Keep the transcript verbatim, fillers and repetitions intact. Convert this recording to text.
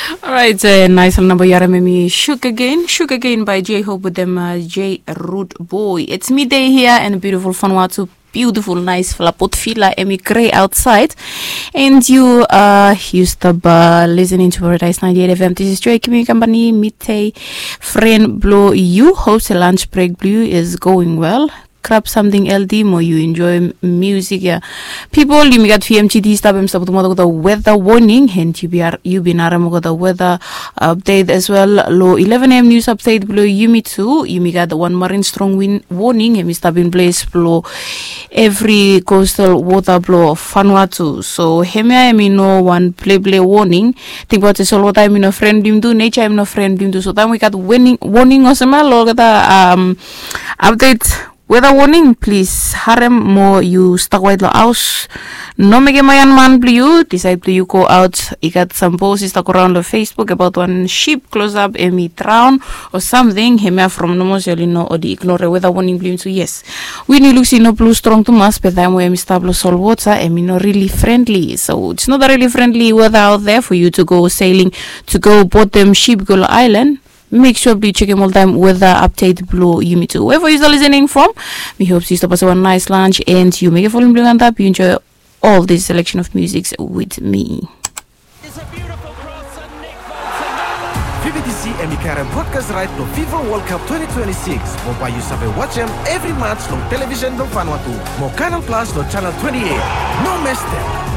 Alright, uh, nice namba yu harim hemi Sugar Cane, Sugar Cane by J Hope wetem uh, J Rude Boy. It's midday here and beautiful Vanuatu, beautiful nice fala Port Vila, hemi grey outside. And you uh you stop uh, listening to Paradise ninety-eight F M. This is Joy Kimi Company, midday friend blo you. Hope se lunch break blo you is going well. Grab something healthy mo you enjoy music ya. People, yumi gat V M G T stap, hemi stap putum olgeta weather warning, and yu bin harim olgeta weather update as well lo eleven A M news update blo yumi tu. Yumi gat wan marine strong wind warning, hemi stap in place blo evri coastal water blo Vanuatu. So hemia hemi no wan playplay warning. Tingbaot se solwota hemi no fren blo yumi tu, nature hemi no fren blo yumi tu. So taem wi gat warning olsem ya lo olgeta um, update weather warning, plis harim mo yu stap kwaet lo haos. No mekem aian man blo yu disaed blo yu go aot. I gat sam bos i stap goraon lo Facebook abaot wan sip klosap hemi draon o samting. Hemia from nomo se oli no oli ignore weather warning blo yumi tu. Yes, win i luk se i no blo strong tumas, be taem we hemi stap lo solwota hemi no really friendly. So it's not a really friendly weather out there for you to go sailing, to go botem sip go lo aelan. Make sure blo yu jekem oltaem weather update blo yumi tu. Wherever you are listening from, mi hope se yu stap hasim wan nice lunch and yu mekem volume blo yu antap, yu enjoy all this selection of music with me. V B T C hemi karem broadcast right lo FIFA World Cup twenty twenty-six. Mo bae yu save wajem evri match long television blo Vanuatu. Mo Canal Plus lo channel twenty-eight. No mes dem.